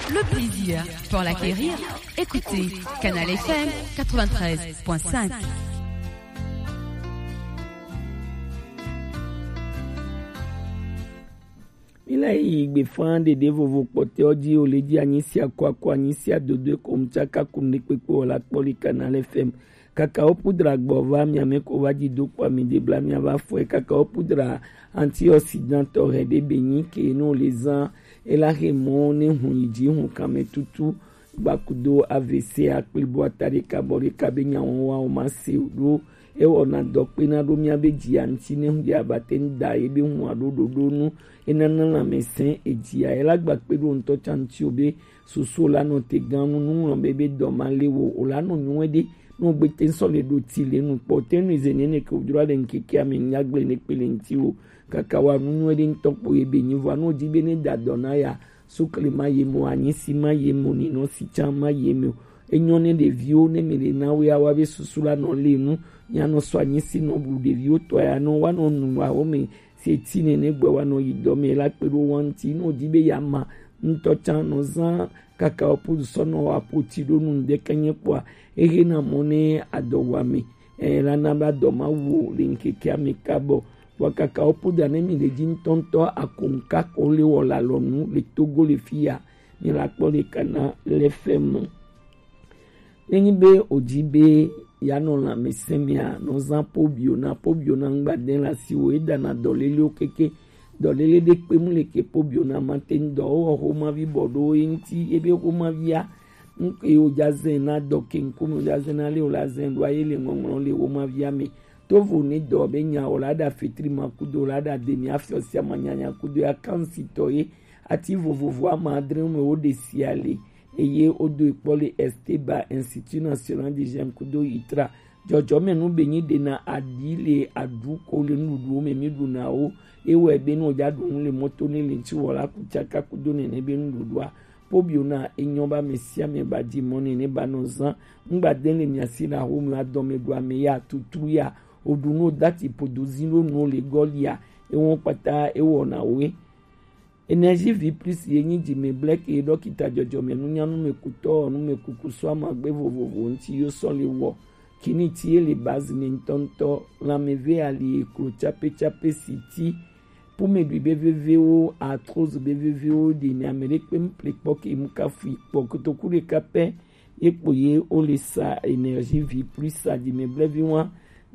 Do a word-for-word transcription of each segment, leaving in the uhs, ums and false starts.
Le plaisir pour l'acquérir, écoutez Canal F M quatre-vingt-treize point cinq. Mila yi gbe fan ɖeɖe vovo kpɔtɛ ɔ ji o le ji anyi sia kɔ akɔ anyi sia dodo e ko mu tsaka ku ne kpekpe o la kpɔ le Canal F M. Kakao poudre gbɔ va mia mɛ ko va ji do kpɔ mi de bla mia va fɔe. Kakao poudre antioxydant tɔ hɛ ɖe be nyi ke no le zan e la he mɔ ne hun yi ji hun kan mɛ tutu gbakudo A V C akpli bo ata ɖeka bɔ ɖeka be nya wɔn wa o ma se o ɖo. E wɔna dɔ kpe na ɖo mia be ji anti ne hun ya ba te n da ye be hun a ɖo ɖoɖo nu. E na na lãmɛsɛn e ji a e la gba kpe ɖo ŋutɔ tsa ŋuti o be soso la nɔ te gan nu nu ŋlɔ be be dɔ ma le wo o la nɔ nyuɛ ɖe. No gbe te sɔ le ɖo ti le nu kpɔ te nu ze ne ne ke o jro ale ŋkeke ame nya gble ne kpe le ŋuti o kaka wa nu nyuɛ ɖe ŋutɔ kpo ye be nyi vɔ no di be ne da dɔ na ya. Sukle ma ye mo, anyisi ma ye mo, ninɔ si tsa ma ye mo. Enyɔ ne ɖeviwo ne mi le na wo ya wa be susu la nɔ le nu. Mia nɔ sɔ anyisi nɔ bu ɖeviwo tɔ ya nɔ wa nɔ nu wa wo me se ti ne ne gbɛ wa nɔ yi dɔ me la kpe ɖo wa ŋuti nɔ di be ya ma ŋutɔ tsa nɔ zan kaka wo podu sɔ nɔ wa poti ɖo nu ŋdɛ ke nye kpɔa ehe na mɔ ne adɔ wa me. E la na ba dɔ ma wo le ŋkeke ame ka bɔ. Vɔ kaka wo poda ne mi le ji ŋutɔŋutɔ akonka ko le wɔ la lɔ nu le Togo le fi ya. Mi la kpɔ le kana le fɛ mɔ. Ne nyi be o ji be ya nɔ lãmɛsɛn mia nɔ zan pobio na pobio na ŋgba de la si wo e da na dɔ lele o keke dɔ lele de kpe mu le ke pobio na ma te ŋdɔ o wɔ xo ma vi bɔ ɖo e ŋuti ebe xo ma via. Ŋke o ja zɛn na dɔ ke ŋku mi o ja zɛn na le o la zɛn ɖo aye le ŋɔŋlɔ le wo ma via me. Tovo ne dɔ be nya o la da fetri ma kudo la da de mi afiɔ sia ma nyanya kudo ya kansi tɔ ye. Ati vovovo ama adre me wo de sia le. Eye wo do ekpɔ le Esteba Institut National de J'aime kudo itra. Jɔjɔme nu be nyi de na aɖi le aɖu ko le nuɖuɖuwo me mi ɖu na wo. Ewɔ be nu o ja ɖu nu le mɔto ne le ŋti wɔ la ku tsaka kudo nene be nuɖuɖua. Pobio na enyɔ ba me sia me ba ji mɔ ne ne ba nɔ zan. Ŋgba de le mia si na ho mi adɔ me ɖu ame ya tutu ya. O ɖu nu o dati podo zin ɖo nu o le gɔli ya. Ewɔ kpata ewɔ na wo. Énergie Vie Plus ye nyi jime blɛk ye ɖɔkita jɔjɔme nunya numekutɔ numekuku sɔ amagbe vovovo ŋti yo sɔ le wɔ. Kini ti ye le base ne ŋtɔŋtɔ lanmeve ali eklo tsape tsape si ti. Pumeɖui be vevewo, arthrose be vevewo ɖi ne ame ɖe kpe ŋple kpɔ ke mu kafu kpɔ kotoku ɖeka pɛ. Ye kpo ye wo le sa Énergie Vie Plus sa jime blɛvi wa.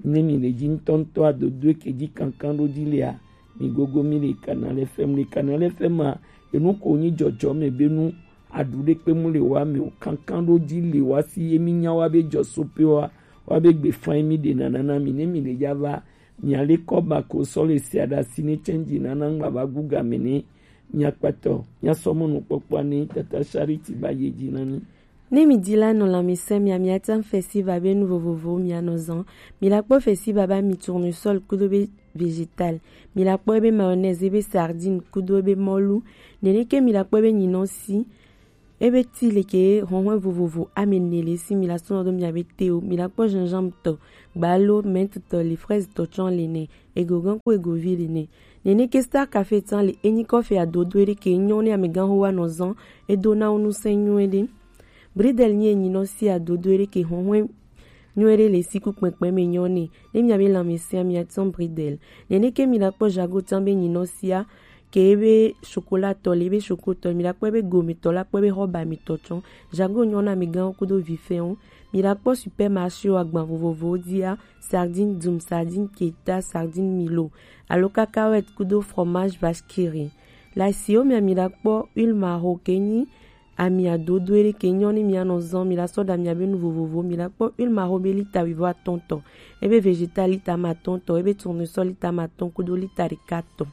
Ne mi le ji ŋtɔŋtɔ adodo ke ji kankan ɖo ji lea, mi gogo mi le Canal F M le Canal F M a. Enu ko nyi jɔjɔme be nu aɖu ɖe kpe mu le wa me o kankan ɖo ji le wa si ye mi nya wa be jɔ sope wa wa be gbe fan mi ɖe nana na mi ne mi le ja va. Mi ale kɔ ba ko sɔ le sia ɖa si ne change nana ŋgba va gu game ne. Mia kpatɔ mia sɔ mɔnu kpɔkpɔ ne tata Charity ba ye ji na mi. Ne mi di la nɔ lãmesẽ mia, mia tã festival be nu vovovowo mia nɔ zan. Mi la kpɔ festival ba mi tournesol kudo be végétal. Mi la kpɔ be mayonnaise be sardine kudo be mɔlu. Nene ke mi la kpɔ be nyinɔsi. Ebe ti leke hɔhɔn vovovo ame ne le si mi la sɔnɔ do mia be te o. Mi la kpɔ gingembre tɔ, gbalo, menthe tɔ le, fraise tɔ tsɔ le ne, egogan ko egovi le ne. Nene ke Star Café tsan le enyi kɔfe adodo ede ke nyɔ ne amegan ho wa nɔ zan edo na wo nu sɛn nyuie de. Bridel nyi enyi nɔ si adodo ede ke hɔhɔn nyuie de le si ku kpɛnkpɛn me nyɔ ne. Ne mia be lanmese mia tsan bridel. Nene ke mi la kpɔ jago tsan be nyi nɔ sia ke ebe chocolat tɔ le ebe choco tɔ mi la kpɔ ebe gome tɔ la kpɔ ebe hɔba mi tɔ tsɔ. Jago nyɔ na amegan kudo vifɛn o. Mi la kpɔ supermarché o agban vovovowo dia. Sardine dum, sardine keta, sardine milo, alo cacahuète kudo fromage vache qui rit. Le asiwo mea mi la kpɔ huile maho ke nyi ami adodo ede ke nyɔ ne mia nɔ zɔn mi la sɔ ɖa mia be nu vovovo mi la kpɔ huile maho be lita wuivo atɔn tɔ, ebe végétal lita ma atɔn tɔ, ebe tournesol lita ma atɔn kudo lita ɖeka tɔ.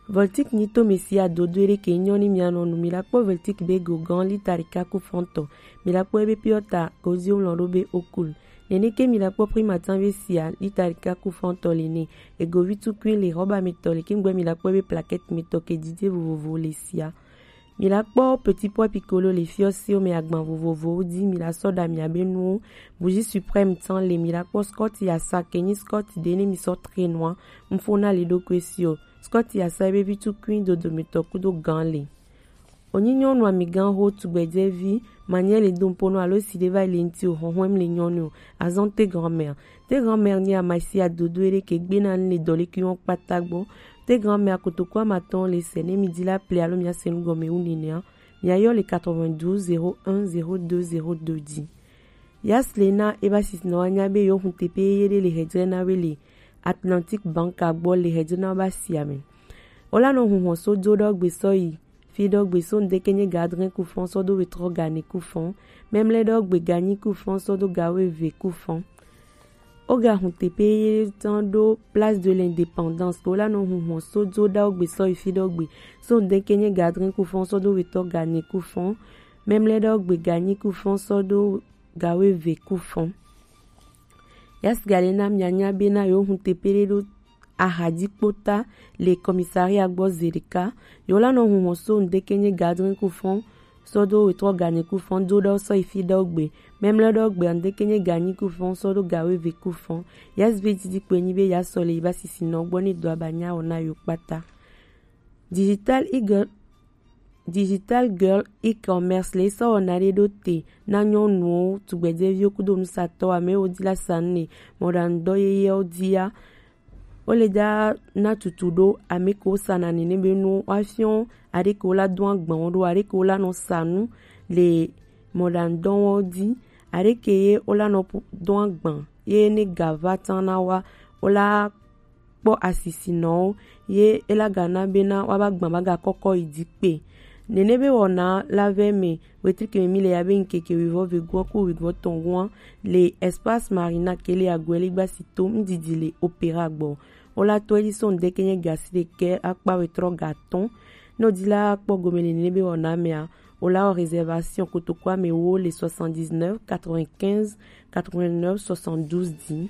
Voltic nyi to me si adodo ede ke nyɔ ni mia nɔ nu mi la kpɔ Voltic be go gan lita ɖeka ku fɔntɔ mi la kpɔ ebe piɔta gozi wlɔ ɖo be okul. Nene ke mi la kpɔ Primatan be sia lita ɖeka ku fɔntɔ le ne. Egovi tukui le hɔba me tɔ le kingbe mi la kpɔ ebe plaquette me tɔ ke didi vovovo le sia. Mi la kpɔ Petit Pois Piccolo le fiɔsiwo me agban vovovowo di mi la sɔ ɖa mia be nuwo. Bougie Suprême tsan le mi la kpɔ Scott Yasa ke nyi Scott de ne mi sɔ tre nua. Mfo na le ɖo kue si o. Scott Yasa ebe vi tukui dodo me tɔ kudo gan le. Onyi nyɔnu amigan ho tugbɛjɛvi, manyɛ le do ŋpo nɔ alo si ɖe va yi le ŋti o, hɔhɔn mi le nyɔnu o, azɔn te grand-mère. Te grand-mère nyi amasi adodo eɖe ke gbe na le dɔ le ki wɔn kpata gbɔ. Te grand-mère kotoku amatɔn le sɛ ne mi di la ple alo mi ase nu gɔme wu nenea, mi ayɔ le quatre-vingt-douze zéro un zéro deux zéro deux dzi. Yaslena eba sisinɔ wa nya be yo hun tepe ye ɖe le hɛjrɛ na we le Atlantic Bank agbɔ le hɛjrɛ na ba si ame. Ola nɔ hun hɔn so do ɖɔ gbe sɔ yi fi ɖɔ gbe so ŋdeke nye gadrin kufɔn sɔ do wetrɔ gane kufɔn. Memle ɖɔ gbe ganyi kufɔn sɔ do gawe ve kufɔn. Oga hun tepe ye tɔn ɖo Place de l'Indépendance. Ola nɔ hun hɔn so do ɖɔ gbe sɔ yi fi ɖɔ gbe so ŋdeke nye gadrin kufɔn sɔ do wetɔ gane kufɔn. Memle ɖɔ gbe ganyi kufɔn sɔ do gawe ve kufɔn. Yasigalena mianya bena yo hun tepe ɖe ɖo ahadikpota le commissariat gbɔ zeɖeka. Yo la nɔ hun hɔn so ŋdeke nye gadrin kufɔn sɔ do wetrɔ gane kufɔn do ɖɔ sɔ yi fi ɖɔ gbe. Memle ɖɔ gbe ŋdeke nye ganyi kufɔn sɔ do gawe ve kufɔn. Yasive didi kpe nyi be yasɔ le yi ba sisinɔ gbɔ ne do abanya wɔ na yo kpata. Digital Eagle Digital Girl e-commerce le sɔ wɔna ɖe ɖo te na nyɔnuwo, tugbɛjɛviwo kudo nusatɔ, ame wo di la sa nu ne mɔɖaŋudɔ yeyewo dia. Wo le da na tutu ɖo ame ke wo sa na nene be nu wa fiɔ aɖe ke wo la do agban wo ɖo, aɖe ke wo la nɔ sa nu le mɔɖaŋudɔ wo di, aɖe ke ye wo la nɔ pu- do agban ye ne ga va tan na wa wo la kpɔ asisinɔwo ye ela gana bena woaba gbã ba gakɔkɔ yi dzi kpe. Nene be wɔna la vɛ me wetrike me mi le ya be ŋkeke wivɔ vegua ku wivɔ tɔn gua le Espace Marina ke le Agueligba si to ŋdidi le Opéra gbɔ. Wola to edzi so ŋdeke nye gasi ɖekɛ akpa wetrɔ gatɔn. Ne wodi la kpɔ gome le nene be wɔna mea, wola wɔ réservation kotoku ame wo le soixante-dix-neuf quatre-vingt-quinze quatre-vingt-neuf soixante-douze dzi.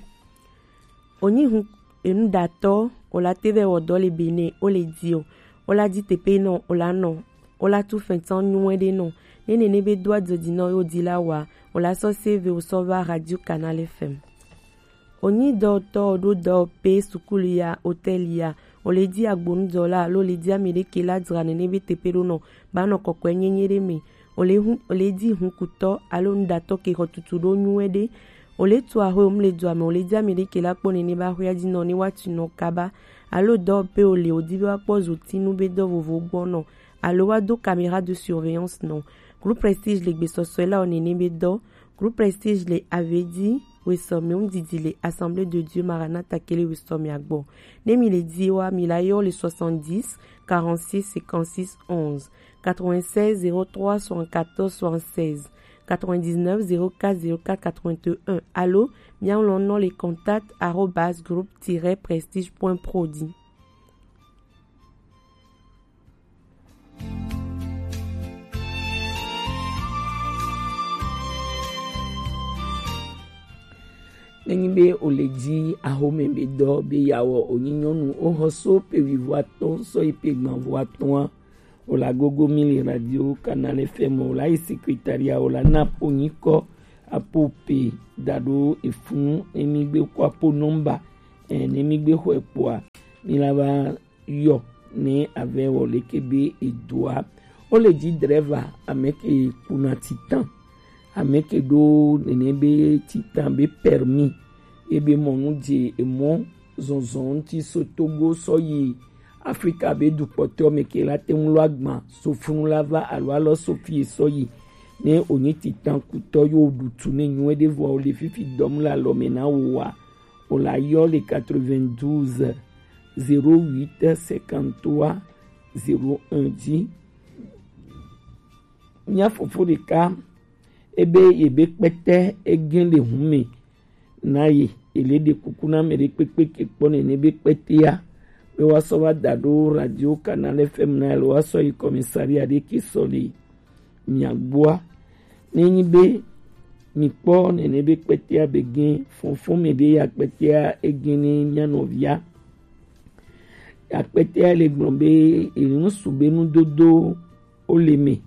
Onyi hun enuɖatɔ, o la te vɛ wɔ dɔ le Benin, o le di o, o la di tepe nɔ, o la nɔ, o la tu fɛntsan nyuɛ ɖe nɔ. Ne nene be do adzɔdzi nɔ yo di la wa, o la sɔ save o sɔ va Radio Canal F M. Onyi dɔtɔ o ɖo dɔ pe sukulu ya, hôtel ya, o le di agbonudɔla alo le di ame ɖe ke la dzra nene be tepe ɖo nɔ, ba nɔ kɔkɔe nyenye ɖe me. O le hun, o le di hunkutɔ alo nuɖatɔ ke xɔ tutu ɖo nyuɛ ɖe. O le tu axwe o mu le dua me, o le di ame ɖe ke la kpɔ nene ba axwea dzi nɔ ne wa tu nɔ kaba. Alo dɔ pe o le o di be wa kpɔ zotinu be dɔ vovo gbɔ nɔ. Alo wa do caméra de surveillance nɔ. Groupe Prestige le gbesɔsɔe la o nene be dɔ. Groupe Prestige le Avedi, wesɔmi ŋdidi le Assemblée de Dieu Maranatha ke le wesɔmi agbɔ. Ne mi le di wa, mi la yɔ le soixante-dix quarante-six cinquante-six onze, quatre-vingt-seize zéro trois soixante-quatorze soixante-seize, quatre-vingt-dix-neuf zéro quatre zéro quatre quatre-vingt-un, alo mia ŋlɔ nɔ le contact arobase groupe tiret prestige point pro dzi. Nenyi be o le di axome be dɔ be yawɔ onyi nyɔnu o xɔ so pe wivɔ atɔn sɔ yi pe gbanvɔ atɔn a, o la gogo mi le Radio Canal F M o la yi secrétariat o la na po nyikɔ apo pe da ɖo efunu ne mi gbe kɔ apo nɔmba ɛ ne mi gbe xɔe kpoa mi la va yɔ ne avɛ wɔ leke be edoa. O le di drɛva ame ke kuna titan, ame ke ɖo nene be titan be permis ebe mɔnu dze emɔ zɔnzɔn ŋuti so Togo sɔ yi Afrika be dukpɔtɔ me ke la te ŋu lɔ agban so funu la va alo alɔ so fi sɔ yi. Ne onyi titan kutɔ yo ɖutu ne nyuɛ ɖe vɔ o le fifi dɔm le alɔ me na wo wa, o la yɔ le quatre-vingt-douze zéro huit cinquante-trois zéro un dzi. Mia fofo ɖeka ebe yebe kpɛtɛ ege le hun me na ye, ele ɖe kuku na ame ɖe kpekpe ke kpɔ nene be kpɛtɛa be wa sɔ va da ɖo Radio Canal F M na alo wa sɔ yi commissariat ɖe ke sɔ le mia gbɔa. Ne nyi be mi kpɔ nene be kpɛtɛa be gen fɔnfɔn me ɖe ya kpɛtɛa egen ne mia nɔvia. Akpɛtɛa le gblɔ be enu su be nudodo o le me.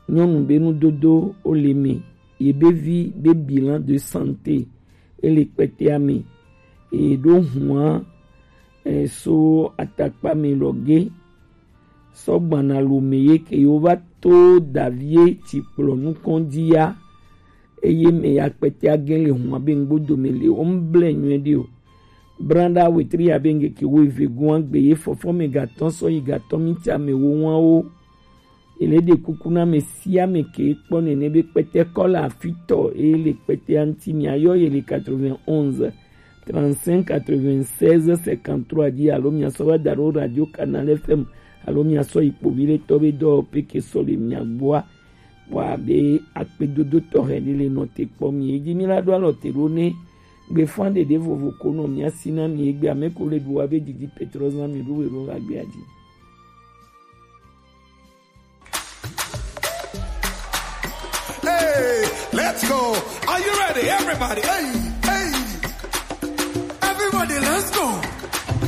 Nyɔnu be nudodo o le me. Ye be vi be bilan de santé e le kpɛtɛa me. E ɖo hua e so atakpa me lɔ ge. Sɔgbana lome ye ke yo va to davie tsi kplɔ nukɔn dzi ya. Eye me ya kpɛtɛ agɛn le hɔn abe ŋgbodo me le o ŋble nyuie ɖi o. Branda wetri abe ŋgeke wo eve gun agbe ye fɔfɔ me gatɔn sɔ yi gatɔn mi tsa me wo wan wo. Ele ɖe kuku na me sia me ke kpɔ nene be kpɛtɛ kɔ le afitɔ eye le kpɛtɛ anti mi ayɔ ye le quatre-vingt-onze trente-cinq quatre-vingt-seize cinquante-trois dzi alo mi asɔ va da ɖo radio Canal F M alo mi asɔ yi kpovi le tɔ be dɔ pe ke sɔ le mi agboa. Wa be akpedodo tɔxɛ ɖe le nɔ te kpɔ mi. Edzi mi la ɖo alɔ te ɖo ne gbefan ɖeɖe vovo ko nɔ mi asi na mi egbe ame ko le ɖu wa be didi petro zan mi ɖo we ɖo va gbea dzi. Hey, let's go. Are you ready, everybody? Hey, hey. Everybody, let's go.